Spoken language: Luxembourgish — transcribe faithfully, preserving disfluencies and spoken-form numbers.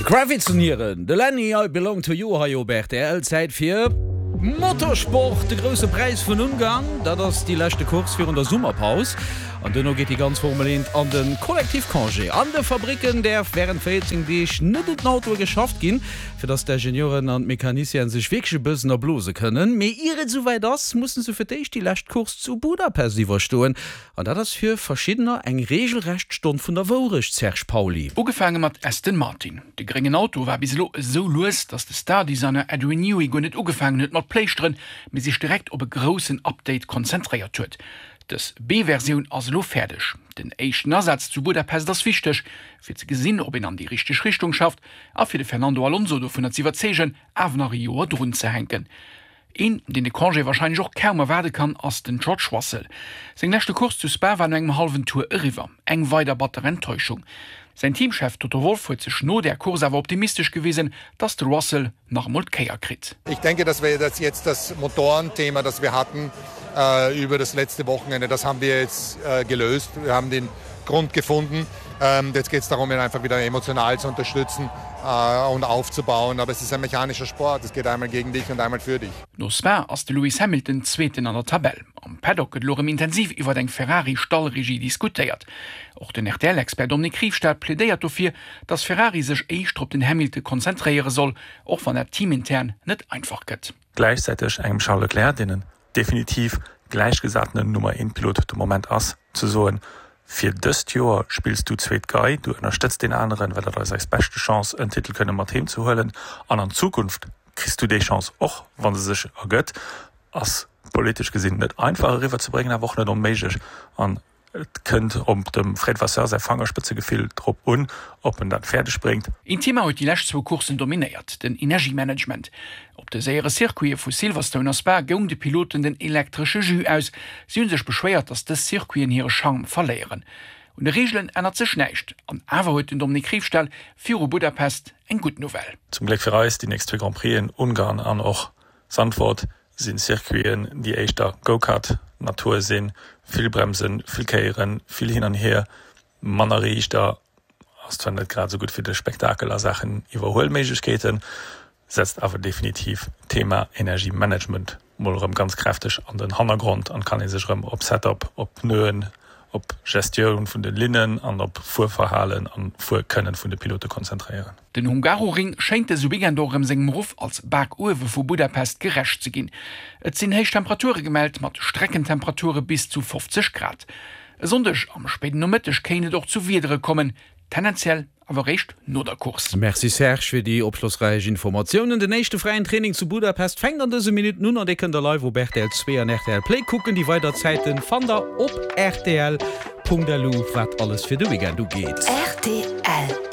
De Kravitz an hiren de Lenny I Belong to You hei op R T L. Zäit fir Motorsport, de Grousse Präis vun Ungarn, dat ass déi leschte Course virun der Summerpaus an duerno geet déi ganz Formel eent an de Kollektivcongé. An de Fabricken däerf wärend véierzéng Deeg net un den Autoe geschafft ginn, fir datt d'Ingenieuren an d'Mecaniciene sech wierklech e bëssen erblose kënnen. Mee ier et esouwäit ass, musse se fir d'éischt déi lescht Course zu Budapest iwwerstoen an dat ass fir verschiddener eng reegelrecht Stonn vun der Wourecht, Serge Pauly. Ugefaange mat Aston Martin. De gréngen Auto war bis elo esou lues, datt de Star-Designer Adrian Newey guer net ugefaangen huet mat pléischteren, mee sech direkt op e groussen Update konzentréiert huet. Dës B-Versioun ass elo fäerdeg. Den éischten Asaz zu Budapest ass wichteg, fir ze gesinn, ob een an déi richteg Richtung schafft a fir de Fernando Alonso dovunner ze iwwerzeegen, awer nach e Joer drun ze hänken. Een, deen de Congé warscheinlech och kaum erwaarde kann, ass den George Russell. Seng leschte Course zu Spa war no engem hallwen Tour eriwwer. Eng weider batter Enttäuschung. Säin Teamchef Toto Wolff huet sech no der Course awer optimistesch gewisen, dass de Russell nach emol d'Kéier kritt. Ich denke, dass wir das jetzt das Motorenthema, das wir hatten äh, über das letzte Wochenende, das haben wir jetzt äh, gelöst. Wir haben den Grund gefunden. Ähm, jetzt geht es darum, ihn einfach wieder emotional zu unterstützen äh, und aufzubauen. Aber es ist ein mechanischer Sport. Es geht einmal gegen dich und einmal für dich. No Spa ass de Lewis Hamilton Zweeten an der Tabell. Am Paddock gëtt elo rëm intensiv iwwer eng Ferrari-Stallregie diskutéiert. Och den R T L-Expert Dominique Riefstahl plädéiert dofir, dass Ferrari sech éischter op den Hamilton konzentréiere soll, och wann dat teamintern net einfach gëtt. Gläichzäiteg engem Charles Leclerc, deen en definitiv gläichgesatenen Nummer eent Pilot de Moment ass, ze soen, fir dëst Joer spills du zweet Gei, du ënnerstëtz deen aneren, well dat ass eis beschte Chance, en Titel kënne mat heem ze huelen an an Zukunft kriss du déi Chance och, wann se sech ergëtt, ass politesch gesinn net einfach eriwwer ze bréngen, awer och net onméiglech an et kënnt op dem Fred Vasseur säi Fangerspëtzegefill drop un, ob en dat fäerdeg bréngt. Een Thema huet déi lescht zwou Courssen dominéiert, den Energiemanagement. Op de séiere Circuite vu Silverstone a Spa goung de Piloten den elektresche Jus aus. Si hunn sech beschwéiert, dass dës Circuiten hire Charme verléieren. Un de Reegelen ännert sech näischt. An awer huet den Dominique Riefstahl viru Budapest eng gutt Nouvelle. Zum Gléck fir eis, déi nächst zwee Grand Prixen, Ungarn an och Zandvoort, sinn Circuiten, déi éischter Go-Kart Natur sinn, vill Bremsen, vill Kéieren, vill hin an hier, manner Riichter, ass zwar net grad esou gutt fir de Spektakel a Saachen Iwwerhuelméiglechkeeten, setzt awer definitiv d'Thema Energiemanagement mol erëm ganz kräfteg an den Hannergrond an kann ee sech erëm op Setup, op Pneuen, op Gestioun vun de Linnen an op Fuerverhalen an Fuerkënnen vun de Pilote konzentréieren. Den Hungaroring schéngt dëse Weekend och erëm sengem Ruff als Bakuewe vu Budapest gerecht ze ginn. Et sinn héich Temperature gemellt, mat Streckentemperature bis zu fofzeg Grad. E Sonndeg am spéiden Nomëtteg kéint et och zu Wiedere kommen, tendenziell awer réischt no der Course. Merci Serge fir déi opschlossräich Informatiounen. Den éischte fräien Training zu Budapest fänkt an dëse Minutten un an dee kënnt der live op R T L zwee an R T L Play kucken. Déi weider Zäite fannt der op R T L Punkt L U, wat alles fir de Weekend ugeet. R T L.